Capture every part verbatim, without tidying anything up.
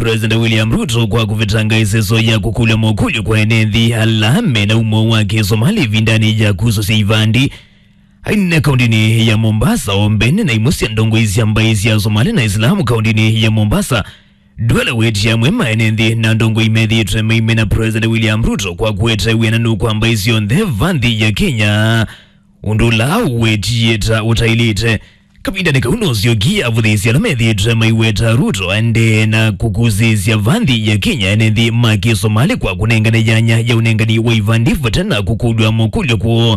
President William Ruto kwa kũvetanga ĩseso ya kũkũlya mokũlyo kwa ene nthĩ ala mena umo wa Kĩsomali ĩvindanĩ ya kusũsya ivandi. Ainena kaũntĩnĩ ya Mombasa o mbene na imwe sya ndongoi sya mbaĩ sya Somali na Islamu kaũntĩnĩ ya Mombasa, Duale wetie amwe ma ene nthĩ na ndongoi methĩĩtwe maimena President William Ruto kwa kũete wĩananu kwa mbaĩ syonthe va nthĩ ya Kenya, ũndũ ũla ũwetie ta ũtaĩlĩte. Kavindanĩ kau nũsyokie avũthĩĩsya ala methĩĩtwe maiweta Ruto aendee na kũkusĩĩsya va nthĩ ya Kenya ene nthĩ ma Kĩsomali kwa kũnengane yanya ya ũnengani wa ivandi vate na kũkũlw'a mokũlyo kwoo.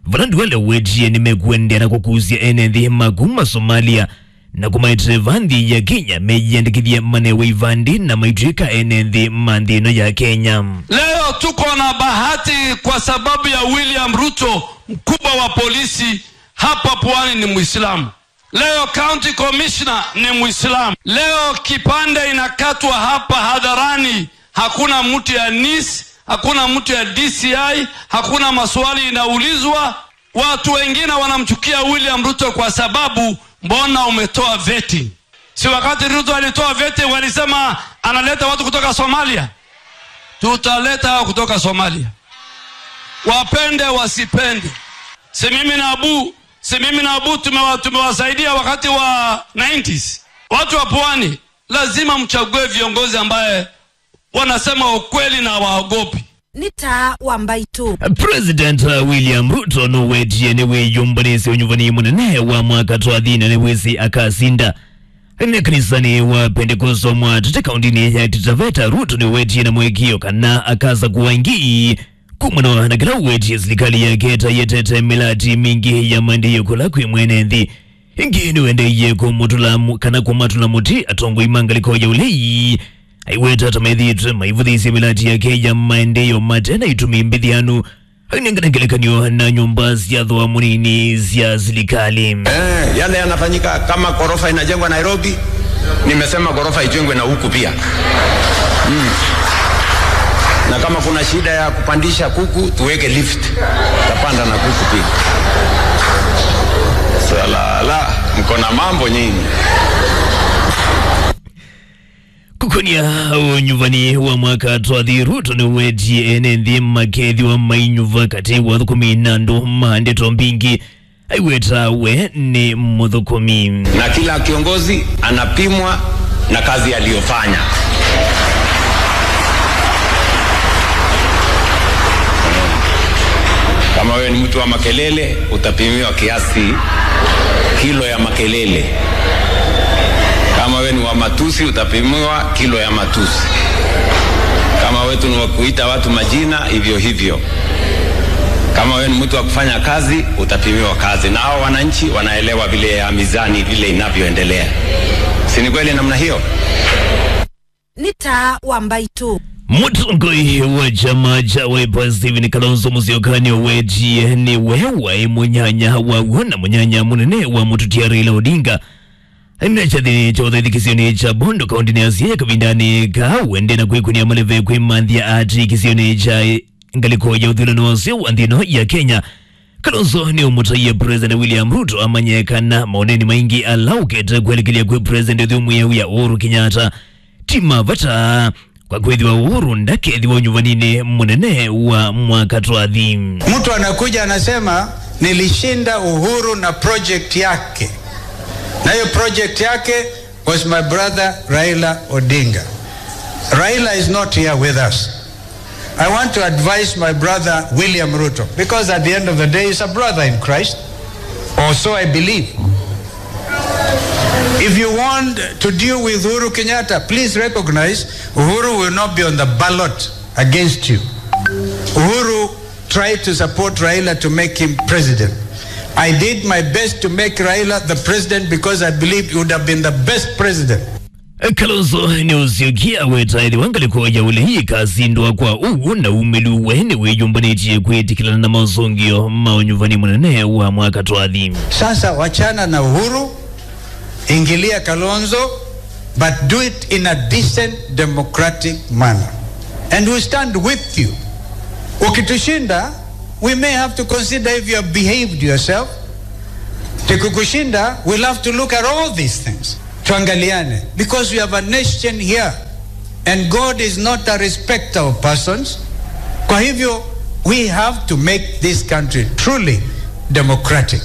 Vala Duale wetie nĩmekũendeea na kũkusya ene nthĩ ma kuma Somalia na kũmaetee va nthĩ ya Kenya meyĩandĩkĩthye manewe ivandi na maitw'ĩka ene nthĩ ma nthĩ ĩno ya Kenya. Leo tuko na bahati kwa sababu ya William Ruto, mkubwa wa polisi hapa Pwani ni Muislamu. Leo county commissioner ni Muislamu. Leo kipande inakatwa hapa hadharani. Hakuna mtu ya nis, hakuna mtu ya D C I, hakuna maswali inaulizwa. Watu wengine wanamchukia William Ruto kwa sababu, mbona umetoa vetting? Si wakati Ruto alitoa vetting walisema analeta watu kutoka Somalia? Tutaleta hao kutoka Somalia, wapende wasipende. Si mimi na Abu, si mimi na Abu tumewa-, tumewasaidia wakati wa nineties. Watu wa Pwani, lazima mchague viongozi ambaye wanasema ukweli na waogopi. Nĩ taa wa mbaitũ. President William Ruto nũwetie nĩwĩyũmbanĩsye ũnyuvani mũnene wa mwaka twathi na nĩwĩsĩ akasinda. Nĩ kanisanĩ wa Pentekosto Mwatate kaũntĩnĩ ya Taita Taveta, Ruto nĩwetie na mũĩkĩĩo kana akasakũa ĩngĩ kumana na kĩla ũwetie silikalĩ yake ta yĩetete mĩlati mingĩ ya maendeeo kũla kwĩ mwene nthĩ. Ĩngĩ nĩwendeeie kũmũtũla mu-, kana kũmatũla mũtĩ atongoi ma ngalĩko ya ũlei, aiweta ta methĩĩtwe maivũthĩĩsya mĩlati yake ya maendeeo mate na itumi mbĩthĩanu, ainengane ngelekany'o na nyũmba sya thooa mũnini sya silikalĩ. Eh, yale yanafanyika, kama ghorofa inajengwa Nairobi, nimesema ghorofa ijengwe na huku pia. Mm. Na kama kuna shida ya kupandisha kuku, tuweke lift. Tapanda na kuku pia. Salala, mko na mambo nyinyi. Kũkonia ũnyuvani wa mwaka twathi, Ruto nĩwetie ene nthĩ makethĩwa mainyuva katĩ wa athũkũmi na andũ ma ndeto mbingĩ. Aiweta we nĩ mũthũkũmi. Na kila kiongozi anapimwa na kazi aliyofanya. Kama wewe ni mtu wa makelele, utapimiwa kiasi, kilo ya makelele. Kama wewe ni wa matusi, utapimiwa kilo ya matusi. Kama wetu ni wa kuita watu majina, hivyo hivyo. Kama wewe ni mtu wa kufanya kazi, utapimiwa kazi. Na hao wananchi wanaelewa vile ya mizani, vile inavyoendelea. Si ni kweli namna hiyo? Nĩ taa wa mbaitũ. Mũtongoi wa kyama kya Wiper Stephen Kalonzo Musyoka nĩwetie nĩwe waĩ mũnyanya wa w'o na mũnyanya mũnene wa mũtũtia Raila Odinga. Aimina kyathĩnĩ kya ũthaitĩkĩsyonĩ kya Bondo kaũntĩnĩ ya Siaya kavindanĩ kaa wende na kwĩkũnĩa maleve kwĩmanthĩa aatĩkĩsyonĩ kya ngalĩko ya ũthũĩlano wa ũseo wa nthĩ ĩno ya Kenya. Kalonzo nĩũmũtaie President William Ruto amanye kana maoneni maingĩ ala ũkete kwelekelya kwĩ President ũthyũmũĩa wĩa Uhuru Kenyatta ti ma vata, kwa kwĩthĩwa Uhuru ndakethĩwa ũnyuvaninĩ mũnene wa mwaka twathi. Mtu anakuja anasema, "Nilishinda Uhuru na project yake." Na hiyo project yake was my brother Raila Odinga. Raila is not here with us. I want to advise my brother William Ruto, because at the end of the day, he's a brother in Christ, or so I believe. If you want to deal with Uhuru Kenyatta, please recognize Uhuru will not be on the ballot against you. Uhuru tried to support Raila to make him president. I did my best to make Raila the president because I believed he would have been the best president. Kalonzo nĩũsyokie aweta ĩthĩwa ngalĩko ya ũlei ĩkasindwa kwa ũw'o na umĩlu, we nĩwĩyũmbanĩtye kwĩtĩkĩlana na mosũngĩo ma ũnyuvani mũnene wa mwaka twathi. Sasa wachana na Uhuru, ingilia Kalonzo, but do it in a decent, democratic manner. And we stand with you. Ukitushinda, we may have to consider if you have behaved yourself. Tukikushinda, we'll have to look at all these things. Tuangaliane, because we have a nation here. And God is not a respecter of persons. Kwa hivyo, we have to make this country truly democratic.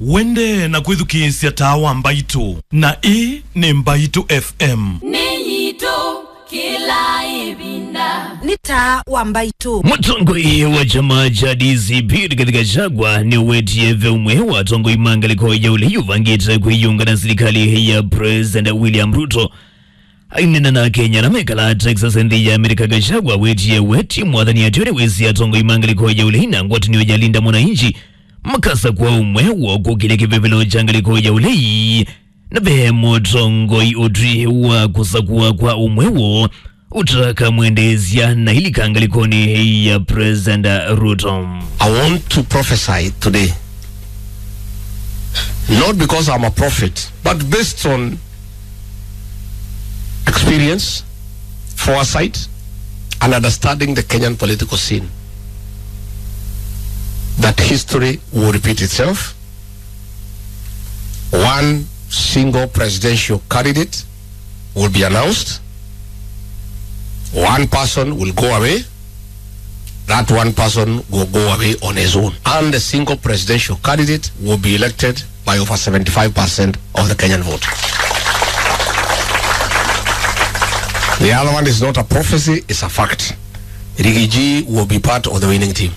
Wende na kwĩthukĩĩsya Taa wa Mbaitũ, na ĩĩ nĩ Mbaitũ F M. Nĩ yitũ kĩla ĩvinda. Nĩ Taa wa Mbaitũ. Mũtongoi wa kyama kya D C P, Rigathi Gachagua, nĩwetie ve ũmwe wa atongoi ma ngalĩko ya ũlei ũvangĩte kwĩyũnga na silikalĩ ya President William Ruto. Aineena na Akenya ala mekalaa Texas nthĩ ya Amerika, Gachagua wetie we ti mwathani ateo nĩwĩsĩ atongoi ma ngalĩko ya ũlei na ngwatanĩo ya Linda Mwananchi makasakũa ũmwe wa kũkĩlya kĩvevelo kya ngalĩko ya ũlei, na ve mũtongoi ũtwi wa kũsakũa kwa ũmwe woo ũtakamwendeesya na ilika ngalĩkonĩ ya President Ruto. I want to prophesy today, not because I'm a prophet, but based on experience, foresight, and understanding the Kenyan political scene, that history will repeat itself. One single presidential candidate will be announced. One person will go away. That one person will go away on his own. And the single presidential candidate will be elected by over seventy-five percent of the Kenyan vote. The other one is not a prophecy, it's a fact. Rigiji will be part of the winning team.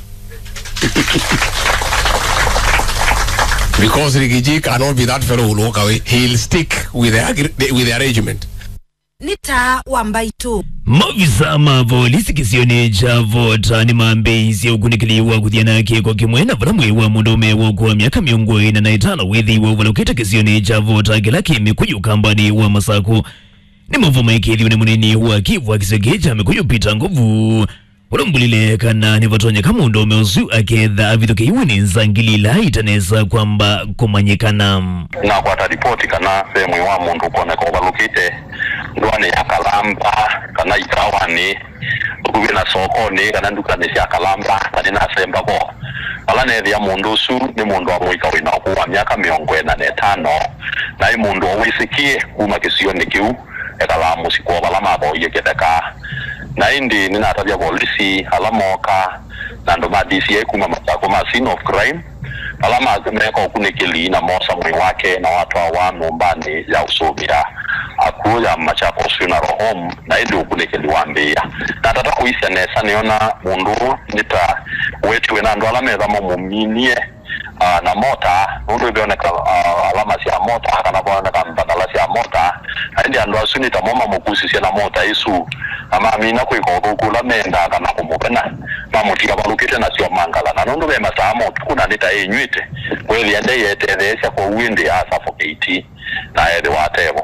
Because Rigiji cannot be that fellow who will walk away. He'll stick with the, agre- with the arrangement. Nĩ Taa wa Mbaitũ. Maovisa ma volisi kĩsionĩ kya Vota nĩmambĩĩisye ũkunĩkĩli wa kũthiana kĩko kĩmwe na vala mwĩĩ wa mũndũũme wa ũkũũ wa myaka mĩongo ĩna na ĩtano wĩthĩiwe ũvalũkĩte kĩsionĩ kya Vota kĩla kĩ Mĩkũyũ kambanĩ wa Masakũ. Nĩ maũvoo maĩkĩĩthw'e nĩ mũnini wa kĩvu wa kĩsio kĩĩ kya Mĩkũyũ, Peter Ngovu, ũla ũmbũlile kana nĩvatonyeka mũndũũme ũsu aketha avithũkĩiwe nĩ nzangili ila itanesa kwamba kũmanyĩkana. Nakwata ripoti kana ve mwĩĩ wa mũndũ ũkoneka ũvalũkĩte ndũanĩ ya Kalamba kana ikawanĩ vakuvĩ na sokonĩ kana ndukanĩ sya Kalamba, na nĩnasemba vo. Vala neethĩa mũndũ ũsu nĩ mũndũ wa mũika wĩ na ũkũũ wa myaka mĩongo ĩna na ĩtano, na ĩ mũndũ o wĩsĩkĩe kuma kĩsionĩ kĩu ekalaa mũsyĩ kwoo vala mavoie kĩtheka. Na ĩndĩ nĩnatavya volisi ala mooka na andũ ma D C I kuma Masakũ ma scene of crime, ala ma- meeka ũkunĩkĩli na moosa mwĩĩ wake na watwawa nyũmbanĩ ya ũsũvĩa akw'ũ ya Machakos Funeral Home, na ĩndĩ ũkunĩkĩli wambĩĩa. Natata kũisya nesa, nĩona mũndũ ũũ nĩ ta wetiwe na andũ ala metha mamũminie, ah, na mota, nũndũ ivoneka, ah, alama sya mota kana voneka mbandala sya mota, na ĩndĩ andũ asu nĩ tamo mamũkusisye na mota ĩsu, na mamina kwĩka ũthũku ũla mendaa kana kũmũvena, mamũtia avalũkĩte nasyo mangala, na nũndũ ve masaa ma ũtukũ na nĩ ta ĩnyw'ĩte, weethĩa ndaiyetetheesya, kwoou ĩndĩ asafokĩiti na ethĩwa atevo.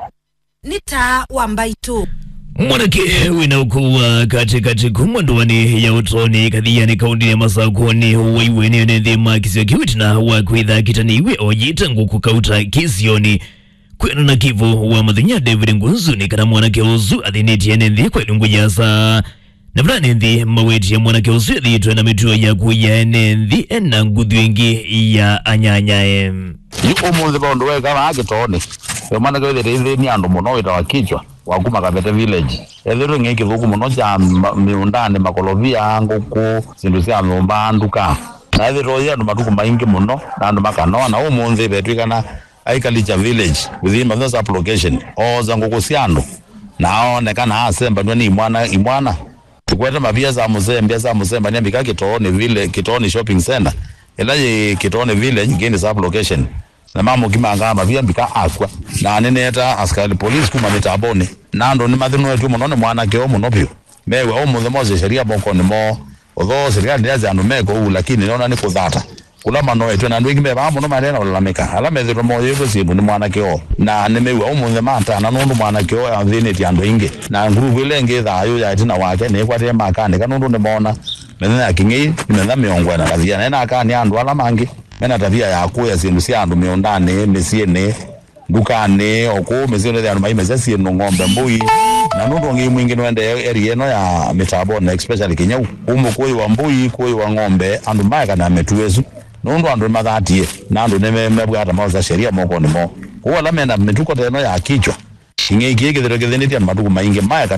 Nĩ Taa wa Mbaitũ. Mwanake wĩna ũkũũ wa katĩkatĩ kuma ndũanĩ ya Ũtoni Kathiani kaũndĩnĩ ya Masakũ nĩwaiwe nĩ ene nthĩ ma kĩsio kĩu ĩtina wa kwĩtha akĩtanĩiwe oyĩte ngũkũ kauta kĩsionĩ. Kwĩanana na kĩvo wa mathenya David Ngunzu nĩ kana mwanake ũsu athĩnĩtye ene nthĩ kwa ilungu yasa. Na vala ene nthĩ mawetie mwanake ũsu ethĩĩtwe na mĩtuo ya kũia ene nthĩ ena nguthu ĩngĩ ya anyanyae. Yu ũmũnthĩ ve ũndũ weka vaa kĩtoonĩ. Ve mwanake wĩthĩte ithĩni andũ mũno wĩtawa Kichwa wa kuma Kavete Village. Ethĩtwe ng'ei kĩthũku mũno kya ma- mĩũndanĩ, makolovia, ngũkũ, syĩndũ sya nyũmba, nduka. Na ethĩtwe ũyĩ andũ matukũ maingĩ mũno na andũ makanoa, na ũmũnthĩ vetw'ĩkana Aikalicha Village within Mathĩna Sub-Location, oosa ngũkũ sya andũ na aonekana asembanw'a nĩ imwana, imwana. Tũkwete mavia sa mũsembia sa mũsembania mbika Kĩtoonĩ Village, Kĩtoonĩ Shopping Center, ĩla yĩ Kĩtoonĩ Village, Ngĩndĩ Sub-Location, na mamũkimangaa mavia mbika akw'a. Na nĩneeta asikali police kuma mĩtambonĩ, na andũ nĩmathĩnũetw'e mũno nĩ mwanake ũũ mũno vyũ. Mew'a ũmũnthĩ mose sheria mokonĩ moo. Although serikali ndĩasya andũ meke ũu, lakini nĩona nĩ kũthata kũla manoetwe, na andũ aingĩ me vaa mũno maendee na ũlalamĩka. Ala methĩtwe moyĩtwe syĩndũ nĩ mwanake oo, na nĩmew'a ũmũnthĩ matana nũndũ mwanake oo athĩnĩtye andũ aingĩ. Na nguruvu ĩla ĩngĩ ĩthaa yũ ya ĩtina wake nĩĩkwatĩe makanĩka nũndũ nĩmoona mĩthenya ya kĩng'ei nĩ mĩthenya mĩongo ĩna na kathiana. Ena akanĩa andũ ala mangĩ mena tavia ya kũya syĩndũ sya andũ mĩũndanĩ, mĩsyĩnĩ, ndukanĩ, o kũu mĩsyĩnĩ, andũ maimesya syĩndũ, ng'ombe, mbũi, na nũndũ ũngĩ mwingĩ nũendee area ĩno ya mĩtambonĩ, especially Kĩnyau. Kũu mũkũyũ wa mbũi, kũyũ wa ng'ombe, andũ maekana mĩtuo ĩsu nũndũ andũ nĩmathatie, na andũ nĩmemebwata maosa sheria mokonĩ moo. Kũu ala mena mĩtuko ta ĩno ya Kichwa, kĩng'ei kĩĩ kĩthĩtwe kĩthĩnĩtye andũ matukũ maingĩ, maekana